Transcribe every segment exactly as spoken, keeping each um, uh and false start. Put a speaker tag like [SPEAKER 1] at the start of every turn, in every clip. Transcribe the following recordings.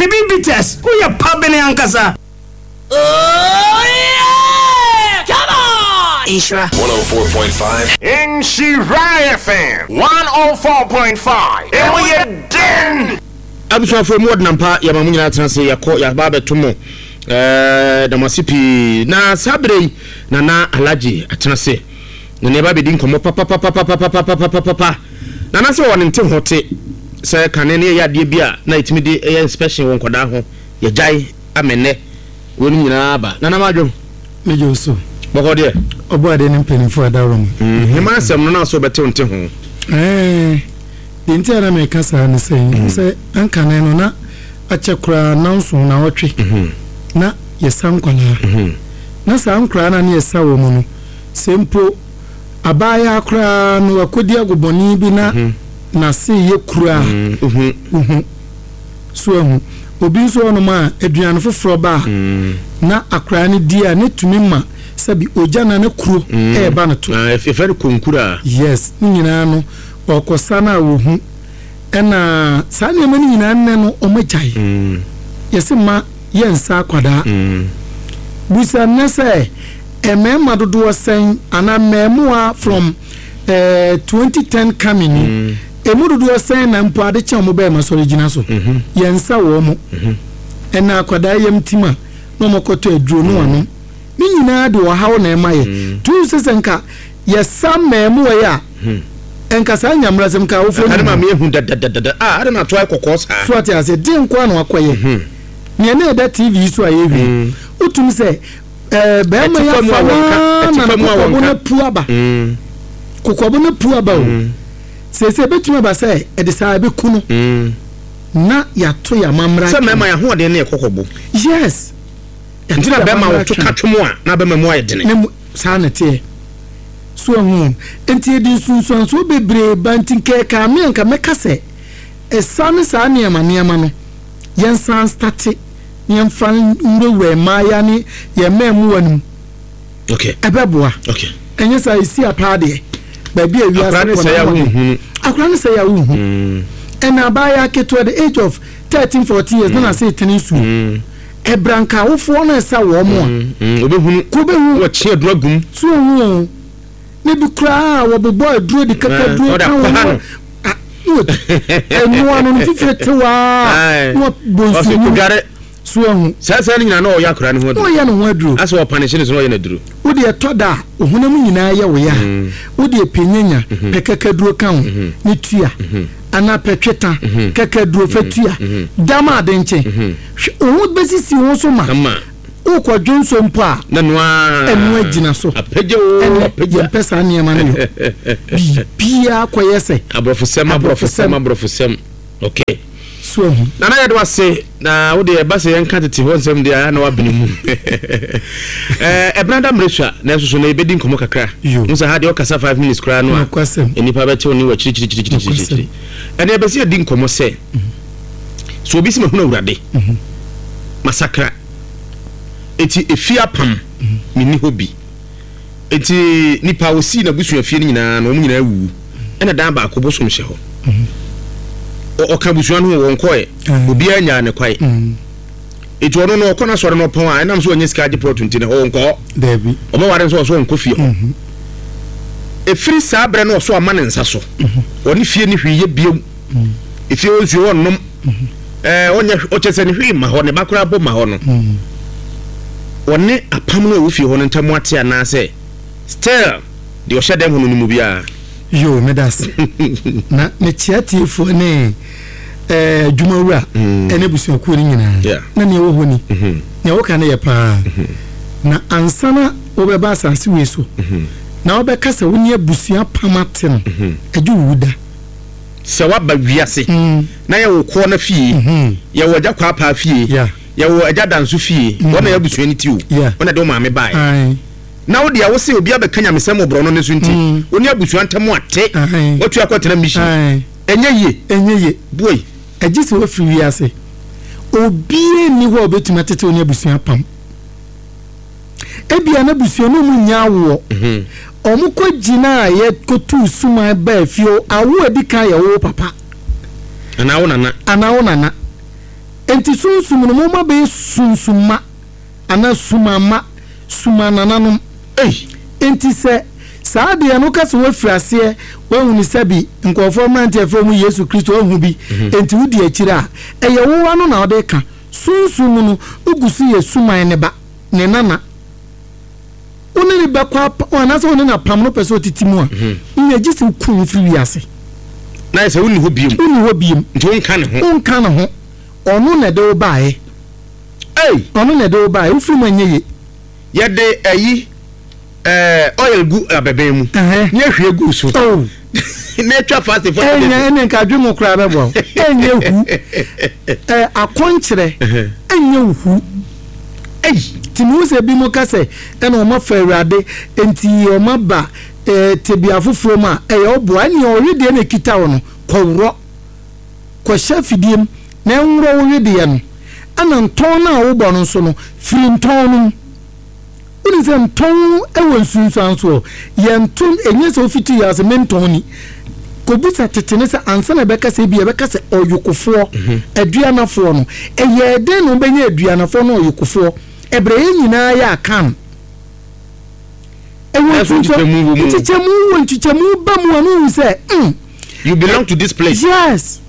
[SPEAKER 1] Bibi Bitters, woyɛ pabene ankasa.
[SPEAKER 2] Oh yeah! Come on!
[SPEAKER 3] Nhyira
[SPEAKER 4] one oh four point five.
[SPEAKER 5] Nhyira F M one oh four point five. Emu yɛ den.
[SPEAKER 6] Abusuafo mu ɔdenampa yɛ ma mo nyinaa tena se yɛkɔ yɛaba abɛto mo ɛɛ damase pii na saa bere yi Nana Alhaji atena se na ne ba bɛdi nkɔmmɔ papapapapapapapapapa. Nana sɛ wɔne nte ho te sɛ kane ne yɛyɛ adeɛ bi a na yɛtumi de ɛyɛ inspection wɔ nkɔdaa ho yɛgyae amɛnɛ wɔn nyinaa ba. Nana madwo
[SPEAKER 7] mejo so
[SPEAKER 6] bɔkɔ deɛ
[SPEAKER 7] ɔbɔ ade ne mpanimfoɔ adaworo
[SPEAKER 6] mu hema asɛm no na so bɛte nte ho
[SPEAKER 7] ɛɛ deɛ nti a na meka saa ne sɛ sɛ ankane no na akyɛ koraa nanso na ɔtwe na yɛsa nkwalaa na saa nkoraa na ne yɛsa wɔ mu no sɛ mpo abaaya koraa no wakɔdi agobɔne bi na n'ase yɛ kura uhu so ahu obi nso ɔnom a aduane foforɔ ba a na akoraa no di a ne tumi ma sɛbi ogya na ne kuro ɛɛba no to
[SPEAKER 6] ɛfɛ no konkura.
[SPEAKER 7] Yes, ne nyinaa no ɔkɔsa no a wɔhu ɛna saa nneɛma no nyinaa nnɛ no ɔmagyae yɛse ma yɛnsa akwadaa busa nnɛ sɛ mmarima dodoɔ sɛn anaa mmarimoa from eh, twenty ten coming emu dodoɔ sɛn na mpo ade kyɛn ɔmo bɛyɛ ma sɔrɔ gyina so yɛnsa wɔ mo ɛna akwadaa yɛm tim a na ɔmo kɔtɔ aduro no ano ne nyinaa de ɔhaw na ɛma yɛ tu sɛ sɛ nka yɛsa mmarimoa yi a nka saa nyamra sɛm ka awofo
[SPEAKER 6] no ma me hu dadadada ah ade na to akɔkɔ saa
[SPEAKER 7] so ate ase de nko na akɔyɛ nea na ɛda T V so a yɛhwɛ wotum sɛ eh bɛrima ya fa na kokɔbo na pu aba kokɔbo na pu aba o sɛ sɛ betumi aba sɛ ɛde saa ɛbɛku no na yɛato yɛ amamra
[SPEAKER 6] sɛ mmarima yɛ ahoɔden ne ɛkɔkɔbo.
[SPEAKER 7] Yes,
[SPEAKER 6] nti na bɛrima wɔto ka twom a na bɛrima mu ayɛ dene
[SPEAKER 7] saa na teɛ so ahu nti yɛde nsunsuansoɔ bebree ba nti nkɛɛka me anka mɛka sɛ ɛsa ne saa nneɛma nneɛma no yɛnsan state yɛmfa nwurawura mmaaya ne yɛn mmaa no mu.
[SPEAKER 6] Okay,
[SPEAKER 7] ɛbɛboa.
[SPEAKER 6] Okay,
[SPEAKER 7] ɛnyɛ saa esi apaa deɛ baabi a wiase
[SPEAKER 6] kɔ na
[SPEAKER 7] akora ne sɛ yɛ awohu ɛna abaaya ketewa the age of thirteen fourteen years na ase tene nsuo ɛbranka awofoɔ no ɛsa wɔn mu
[SPEAKER 6] a obɛhunu
[SPEAKER 7] ko bɛhu
[SPEAKER 6] wɔkye aduro agum
[SPEAKER 7] so ohu ne bi koraa wɔbobɔ aduro de kaka duro ka wɔn ɛnoa no no fifire tewaa na wɔbɔ nsuo mu so ahu
[SPEAKER 6] saa saa no nyinaa na ɔyɛ akora ne ho aduro
[SPEAKER 7] ɔyɛ ne ho aduro
[SPEAKER 6] asɛ ɔpanehyɛ ne so na ɔyɛ n'aduro
[SPEAKER 7] wode ɛtɔ da a ohunam nyinaa yɛ wo yɛ a wode pɛnyanya pɛ kakaduro ka ho ne tua anaa pɛ tweta kakaduro fɛ tua dam ade nkyɛn wo bɛsisi wo so ma wokɔdwe nso mpo a ɛno agyina so ɛnɛ yɛmpɛ saa nneɛma no yɔ biribiaa kɔyɛ sɛ
[SPEAKER 6] aborɔfosɛm aborɔfosɛm aborɔfosɛm. Okay,
[SPEAKER 7] so ahu
[SPEAKER 6] Nana yɛde wase na wode ɛba sɛ yɛnka tete hɔ nsɛm deɛ na wabene mu ɛɛ ɛbena da mmerɛ sua na nso so na yɛbɛdi nkɔmmɔ kakra wo sɛ ha deɛ ɔkasa five minutes koraa no a nnipa bɛtew ne wɔ kyirikyirikyirikyirikyiri ɛne ɛbɛsɛ yɛdi nkɔmmɔ sɛ so obi sɛ mahunu Awurade masakra eti efi apam menni hɔ bi eti nipa osi na busua fie no nyinaa na wɔn nyinaa wuwu ɛna dan baako bosom hyɛ hɔ ɔka busua no wɔn kɔɛ obiara nyaa ne kwae eti ɔno no ɔkɔ na sɔre no ɔpɔn a ɛnam so ɔnyɛ sika agye plot nti ne hɔ ɔnkɔ
[SPEAKER 7] daabi
[SPEAKER 6] ɔmo ware nso ɔso ɔnkɔ fie hɔ efiri saa brɛ no ɔso ama ne nsa so ɔne fie ne hwee yɛ biom efie hɔ nsuo hɔ nom ɛɛ ɔnyɛ ɔkyɛ sɛ ne hwee ma hɔ ne ba koraa bɔ ma hɔ no ɔne apam no a ɛwɔ fie hɔ no ntam ate anaasɛ still deɛ ɔhyɛ dɛm ho no no mu biara.
[SPEAKER 7] Yo, medase na mekyia tiefoɔ ne eh, adwumawura ɛne abusuakuo no nyinaa na nea ɛwɔ hɔ ni nea wɔka no yɛ paa na ansa na wobɛba asase wei so na wobɛka sɛ wo ne abusua pam ate no agye wo da
[SPEAKER 6] sɛ waba wiase na yɛwɔ kɔɔ no fie yɛwɔ agya kwaapaa fie yɛwɔ agya danso fie wɔn na yɛ abusua no ti o wɔn na de wo maame baeɛ na wo deɛ wo se obi abɛka nyamesɛm wɔ borɔno no so nti wo ne abusua ntam ate watu akɔtena mission ɛnyɛ yie
[SPEAKER 7] ɛnyɛ yie
[SPEAKER 6] boy
[SPEAKER 7] agye sɛ wafiri wiase obiara nni hɔ a obɛtumi atete wo ne abusua pam ebia na abusua no mu nya awoɔ ɔmo kɔ gyina a yɛkɔtuu suman baa fie awo adi kan yɛ wo papa
[SPEAKER 6] anaa wo nana
[SPEAKER 7] anaa wo nana Enti sunsum no moma bɛyɛ sunsumma anaa sumamma, sumanananom.
[SPEAKER 6] Ei!
[SPEAKER 7] Enti sɛ saa deɛ no woka sɛ woafiri aseɛ woahunu sɛbi nkurɔfoɔ mmeranteɛ a yɛfrɛ wɔn Yesu Kristo woahu bi enti wodi akyire a, ɛyɛ wo ano na wode reka. Sunsum mu no wogu so yɛ suman ne ba, ne nana. Wo ne no bɛkɔ apa anaasɛ wo ne no apam no wopɛ sɛ ɔtete mu a, nea gye sɛ woku wo firi wiase.
[SPEAKER 6] Na ayɛ sɛ wonni hɔ biom.
[SPEAKER 7] Wonni hɔ biom.
[SPEAKER 6] Nti wonka ne ho.
[SPEAKER 7] Wonka ne ho. Ɔno na ɛde wo baeɛ.
[SPEAKER 6] Ei!
[SPEAKER 7] Ɔno na ɛde wo baeɛ. Wofiri mu a ɛnyɛ ye.
[SPEAKER 6] Yɛde ayi ɛɛ oil gu abɛbɛn mu.
[SPEAKER 7] Ɛhɛn.
[SPEAKER 6] Na yɛhwie gu so.
[SPEAKER 7] Oh.
[SPEAKER 6] Na atwa fasting forty days.
[SPEAKER 7] Ɛnyɛ ɛne nka adwe mu koraa bɛboa wo. Ɛnyɛ hu. Ɛɛ akɔnkyerɛ ɛnyɛ hu.
[SPEAKER 6] Ei!
[SPEAKER 7] Nti mehu sɛ ebinom ka sɛ ɛna wɔn afa Awurade nti wɔn aba ɛɛ tebea foforɔ mu a, ɛyɛ wo boa. Ɛnneɛ ɔwedeɛ na ɛkita wo no, kɔworɔ. Kɔhyɛ afidie mu na ɛnworɔ wo wedeɛ no. Ɛna ntɔn no a wobɔ no nso no, firi ntɔn no mu. Wonim sɛ ntɔn wɔ nsunsuansoɔ. Yɛnto, ɛnyɛ sɛ wofiti wiase mentɔn ni. Kɔbisa tete no sɛ ansa na ɛbɛka sɛ ebia ɛbɛka sɛ ɔyokofoɔ, aduanafoɔ no, ɛyɛɛ dɛn na wɔbɛnya aduanafoɔ ne ɔyokofoɔ ɛberɛ yɛn nyinaa yɛ Akan? Ɛwɔ
[SPEAKER 6] Nanso nkyekyɛmu wɔ mu.
[SPEAKER 7] Nkyekyɛmu wɔ nkyekyɛmu ba mu a na wohu sɛ mm.
[SPEAKER 6] You belong to this place.
[SPEAKER 7] Yes.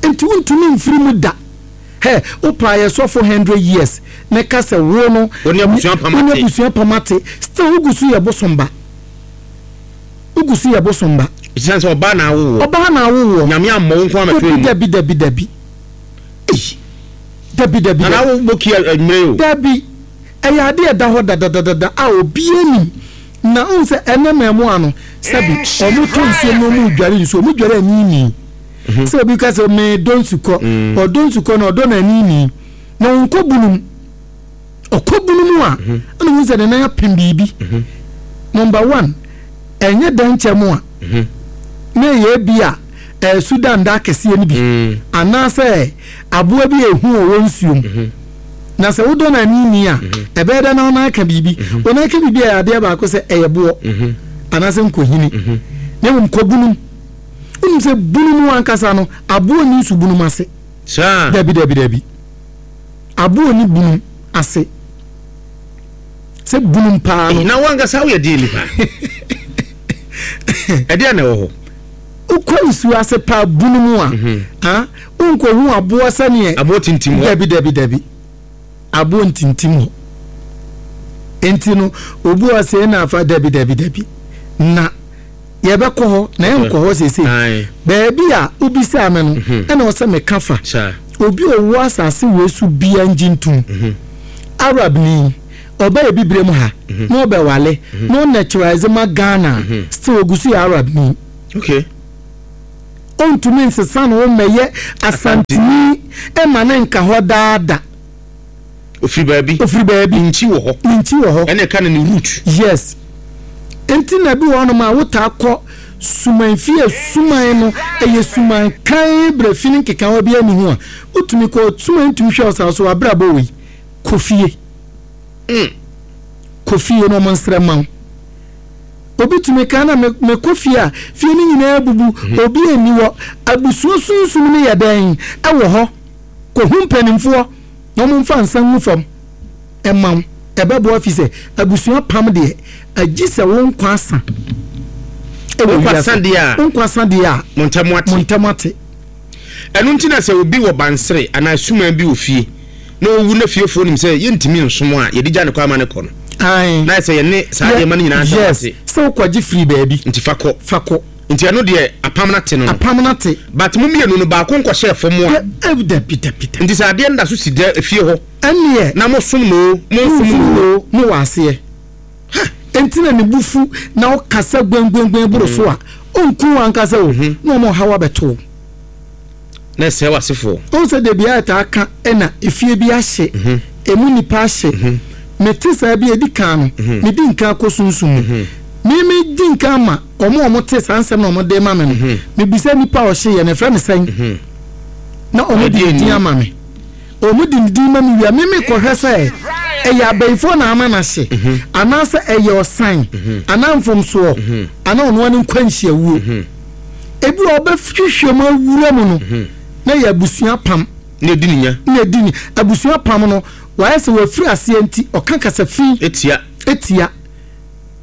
[SPEAKER 7] Nti wontumi mfiri mu da. Hɛ, wopaa yɛ sɔfo hundred years na ka sɛ wo no
[SPEAKER 6] Wo ne abusua apam
[SPEAKER 7] wo ne
[SPEAKER 6] ate.
[SPEAKER 7] abusua apam ate, still wogu so yɛ bosom ba. Wogu so yɛ bosom ba.
[SPEAKER 6] Esiane sɛ ɔbaa na awo woɔ.
[SPEAKER 7] Ɔbaa na awo woɔ.
[SPEAKER 6] Nyame ammɔ wo nko ara mɛto emu.
[SPEAKER 7] Dabi dabi dabi.
[SPEAKER 6] Ei!
[SPEAKER 7] Dabi dabi
[SPEAKER 6] Nana
[SPEAKER 7] dabi.
[SPEAKER 6] wo bɔ ki anwummere o.
[SPEAKER 7] Dabi. Ɛyɛ adeɛ a ɛda hɔ dadadadada a obiara nim. Na wohu sɛ ɛnnɛ mmaamua no, sɛbi, wɔtɔ nsuo mu na wɔredware nsuo, wɔdware aniinii. Sɛ obi ka sɛ medɔ nsukɔ, ɔdɔ nsukɔ no ɔdɔ no aniinii. Na ɔnkɔ bunu mu. Ɔkɔ bunu mu a, ɛna wohu sɛ ne nan apem biribi. Number one, ɛnyɛ dɛnkyɛm a, na ɛyɛ ebi a ɛɛ Sudan da akɛseɛ no bi, anaasɛ aboa bi a ehu wɔ wɔ nsuo mu. Na sɛ wodɔ no aniinii a, ɛbɛyɛ dɛ na wo nan aka biribi. Wo nan ka biribi a ɛyɛ adeɛ baako sɛ ɛyɛ boɔ anaasɛ nkohini. Na mmom kɔ bunu mu. Wonim sɛ bunu mu ankasa no, aboɔ nni nsu bunu mu ase.
[SPEAKER 6] Saa.
[SPEAKER 7] Dabi, dabi, dabi. Aboɔ nni bunu ase. Sɛ bunum paa no.
[SPEAKER 6] Na wo ankasa woyɛ deɛ nipa? Ɛdeɛ na ɛwɔ hɔ?
[SPEAKER 7] Wokɔ nsuo ase paa bunu mu a, ah, wonkɔhu aboɔ sɛneɛ.
[SPEAKER 6] Aboɔ tintim hɔ.
[SPEAKER 7] Dabi, dabi, dabi. Aboɔ ntintim hɔ. Enti no, obi wɔ sɛ na afa dabi, dabi, dabi. Na yɛbɛkɔ hɔ, na yɛnkɔ hɔ seesei. Baabi a wobisaa me no, ɛna ɔsɛ meka fa. Obi a ɔwɔ asase wei so biara ngye ntom. Arabni, ɔba Abibirem ha, na ɔbɛwale, na ɔnaturalize ma Ghana a, still ogu so yɛ Arabni.
[SPEAKER 6] Okay.
[SPEAKER 7] Ɔntumi nsesa ne ho mmɛyɛ Asanteni mma no nka hɔ daa da.
[SPEAKER 6] Ofiri baabi.
[SPEAKER 7] Ofiri baabi.
[SPEAKER 6] Ne nkyi wɔ hɔ.
[SPEAKER 7] Ne nkyi wɔ hɔ.
[SPEAKER 6] Ɛna ɛka no ne root.
[SPEAKER 7] Yes. Nti na ebi wɔ hɔnom a wotaa kɔ suman fie a suman no ɛyɛ suman kann berɛ fi ne nkekawa biara nni ho a, wotumi kɔ suman tumi hwɛ wo saa so w'abrabɔ wei, kɔ fie.
[SPEAKER 6] Mm.
[SPEAKER 7] Kɔ fie na wɔn nsrɛ ma wo. Obi tumi ka na mekɔ fie a, fie no nyinaa abubu, mhm. obi nni hɔ. Abusua sunsum no yɛ dɛn ɛwɔ hɔ? Kɔhu mpanimfoɔ na wɔn mfa nsa ngu fam ɛma wo. Ɛbɛboa fi sɛ abusua pam deɛ, agye sɛ wo nkwa asa.
[SPEAKER 6] Ɛwɔ wiase.
[SPEAKER 7] Wo nkwa asa deɛ a,
[SPEAKER 6] mo
[SPEAKER 7] ntam ate.
[SPEAKER 6] Ɛno nti na sɛ obi wɔ bansere anaa suman bi wɔ fie na owu na fiefoɔ nim sɛ yɛntumi nsom a, yɛde gya no kɔ ama no kɔ no.
[SPEAKER 7] Ae.
[SPEAKER 6] Na ayɛ sɛ yɛne saa nneɛma no nyinaa ntam
[SPEAKER 7] Yes.
[SPEAKER 6] ate.
[SPEAKER 7] Sɛ wokɔgye firi baabi.
[SPEAKER 6] Nti fa kɔ.
[SPEAKER 7] Fa kɔ.
[SPEAKER 6] Nti ɛno deɛ apam no ate no no.
[SPEAKER 7] Apam no ate.
[SPEAKER 6] But mo mmienu no baako nkɔhyɛɛ fam a.
[SPEAKER 7] Dɛ, eh, dabi, dabi, dabi.
[SPEAKER 6] Nti sɛ adeɛ no da so si dɛ fie hɔ.
[SPEAKER 7] Ɛnneɛ.
[SPEAKER 6] Na mosom no o, monsom
[SPEAKER 7] Monsom
[SPEAKER 6] no o.
[SPEAKER 7] no o, mowɔ aseɛ.
[SPEAKER 6] Ha!
[SPEAKER 7] Enti na ne bo fu na ɔkasa guanguanguan boro so a, ɔnku wo ankasa o, na ɔma ɔhaw abɛto wo.
[SPEAKER 6] Na ɛsɛe w'asefoɔ.
[SPEAKER 7] Wohu sɛ da biara yɛtaa ka ɛna efie bi ahye, emu nnipa ahye. Mete saa bi a, edi kan no, medi nkan kɔ sunsum mu. Me medi nkan ma wɔn a wɔte saa nsɛm na wɔde ma me no, mebisa nipa a ɔhyeeɛ no, yɛfrɛ no sɛn? Na wɔde ne din ama me. Wɔde ne din ma me wie a, me mekɔhwɛ sɛ ɛyɛ abayifoɔ na ama no ahye, anaasɛ ɛyɛ ɔsan, anaa mfomsoɔ, anaa ɔno ara ne nkwanhyiawuo. Ebi wɔ hɔ a wobɛhwehwɛ mu awura mu no, na ɛyɛ abusua apam.
[SPEAKER 6] Na edi ne nya.
[SPEAKER 7] Na edi ne abusua pam no, wayɛ sɛ wafiri aseɛ nti ɔka kasa fi.
[SPEAKER 6] Etia.
[SPEAKER 7] Etia.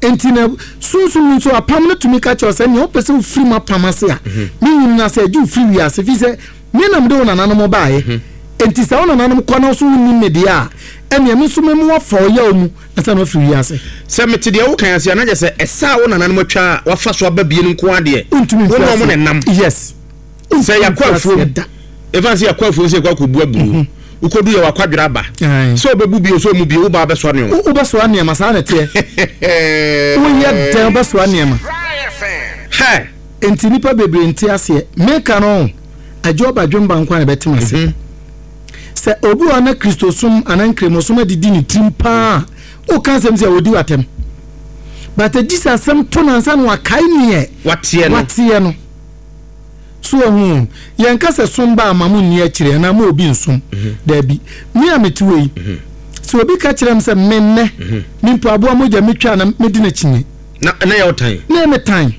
[SPEAKER 7] Nti na sunsun nso apam no tumi ka kyerɛ sɛ nea wopɛ sɛ wofiri mu apam ase a, me nyini no ase agye wofiri wiase fi sɛ me nam de wo nananom baeɛ. Nti sɛ wo nananom kɔ na so wonnim me deɛ a, ɛnea me nso memu wafa ɔyaw mu ansa na wafiri wiase.
[SPEAKER 6] Sɛ mete deɛ wokan ase a, na kyerɛ sɛ ɛsa a wo nananom atwa a wafa so aba bie no nko adeɛ.
[SPEAKER 7] Wontumi
[SPEAKER 6] wo
[SPEAKER 7] mfiri
[SPEAKER 6] ne
[SPEAKER 7] ase.
[SPEAKER 6] ɔmo ne nam.
[SPEAKER 7] Yes.
[SPEAKER 6] Sɛ yɛakɔ afuom, ɛfa sɛ yɛakɔ afuom sɛ yɛkɔ akɔbu aburo, wokɔdu yɛ wakwadwerɛ aba sɛ wobɛbu bio sɛ ɔmu bio, wobaa bɛsoa nneɔma.
[SPEAKER 7] Wobɛsoa nneɛma, saa na ɛteɛ. Woyɛ dɛn wobɛsoa nneɛma.
[SPEAKER 6] Hɛ.
[SPEAKER 7] Nti nnipa bebree nte aseɛ. Meka no, agye ɔbadwemba nkwa na ɛbɛtem ase. Sɛ obi wɔ na Kristosom anaa Nkramosom adidi ne tirim paa, woka asɛm sɛ ɔdi w'atɛm. But agye sɛ asɛm to nansa na wakae neɛ
[SPEAKER 6] wateɛ no.
[SPEAKER 7] Wateɛ no. So ɔhu, yɛnka sɛ som ba ama mo nni akyire anaa mo obi nsom. Daabi. Me a mete wɔ yi, sɛ obi ka kyerɛ m sɛ mennɛ, me mpo aboa mogya metwa na medi n'akyi.
[SPEAKER 6] Na na yɛ wo tan.
[SPEAKER 7] Na me tan.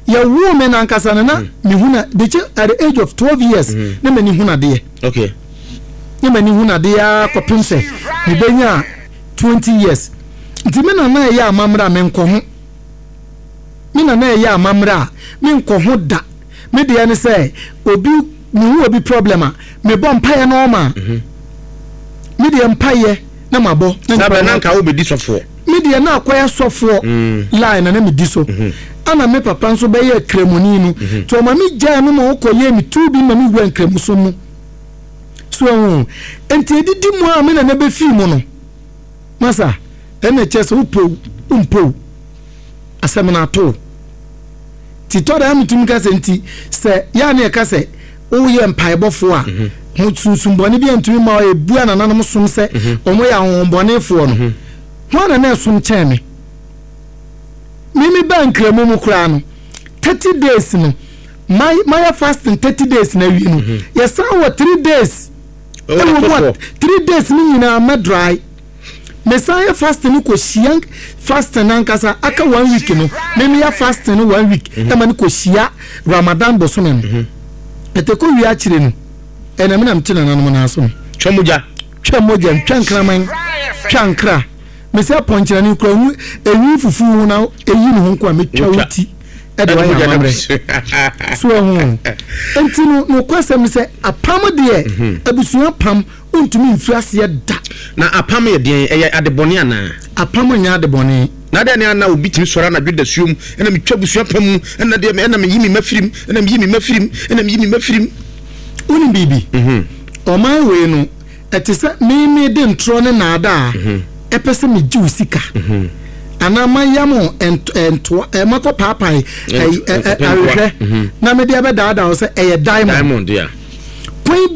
[SPEAKER 7] Yɛwoo me nankasa no na mehu na dekye at the age of twelve years na m'ani hu nadeɛ.
[SPEAKER 6] Okay.
[SPEAKER 7] Na m'ani hu nadeɛ ara kɔpem sɛ mebɛnya twenty years. Nti me nana ɛyɛ amammerɛ a menkɔ ho. Me nana ɛyɛ amammerɛ a menkɔ ho da. Me deɛ ne sɛ obi mehu obi problem a mebɔ mpaeɛ na ɔma. Me deɛ mpaeɛ na mabɔ.
[SPEAKER 6] Saa bɛ na nka wobɛdi sɔfoɔ.
[SPEAKER 7] Me deɛ na akɔyɛ sɔfoɔ line na na medi so. Ana me papa nso bɛyɛ kramoni no. Nti ɔma me gyaa no ma ɔkɔyɛ me tu bi ma me wura nkramosom mu. So ɛho nti edidi mu a me nana bɛfii mu no. Masa ɛna kyerɛ sɛ wopɔ wompɔ asɛm no ato. Ti tɔ da metumi ka sɛ nti sɛ yɛa ne yɛka sɛ woyɛ mpaebɔfoɔ a ho sunsumbɔne bi antumi ma ebu a nananom som sɛ ɔmo yɛ ahohombɔnefoɔ no. Ho ana na ɛsom kyɛn me. Mimi ba nkramu mu koraa no thirty days no my mayɛ fasting thirty days na awie no, yɛsan wɔ three days ɛwɔ mu a three days no nyinaa mɛ dry. Mesan yɛ fasting no kɔ hyia fasting nankasa aka one week no, mimi yɛ fasting no one week ɛma no kɔ hyia Ramadan bosome no. Ɛtɛ kɔ wie akyire no, ɛna mi na mi te nananom naa so no.
[SPEAKER 6] Twa mogya.
[SPEAKER 7] Twa mogya, ntwa nkraman, twa nkra. Mesɛ pɔnkyerɛne kura hu enwi fufu ho na eyi ne ho nko a metwa wo ti ɛde wayɛ amammerɛ so ɛho. Nti no nokwasɛm ne sɛ apam deɛ, abusua pam wontumi mfiri aseɛ da.
[SPEAKER 6] Na apam yɛ deɛn? Ɛyɛ adebɔne anaa?
[SPEAKER 7] Apam nyɛ adebɔne.
[SPEAKER 6] Na deɛ ne ana obi tumi sɔre anadwo da suom ɛna metwa abusua pam mu, ɛna deɛ ɛna meyi me ma firim, ɛna meyi me ma firim, ɛna meyi me ma firim?
[SPEAKER 7] Wonim biribi, ɔman wei no ɛte sɛ meme de ntorɔ ne naadaa ɛpɛ sɛ megye wo sika anaa mayam ntoa makɔ paapae ahwehwɛ na mede abɛdaadaa wo sɛ ɛyɛ diamond.
[SPEAKER 6] Diamond ya.
[SPEAKER 7] Kwan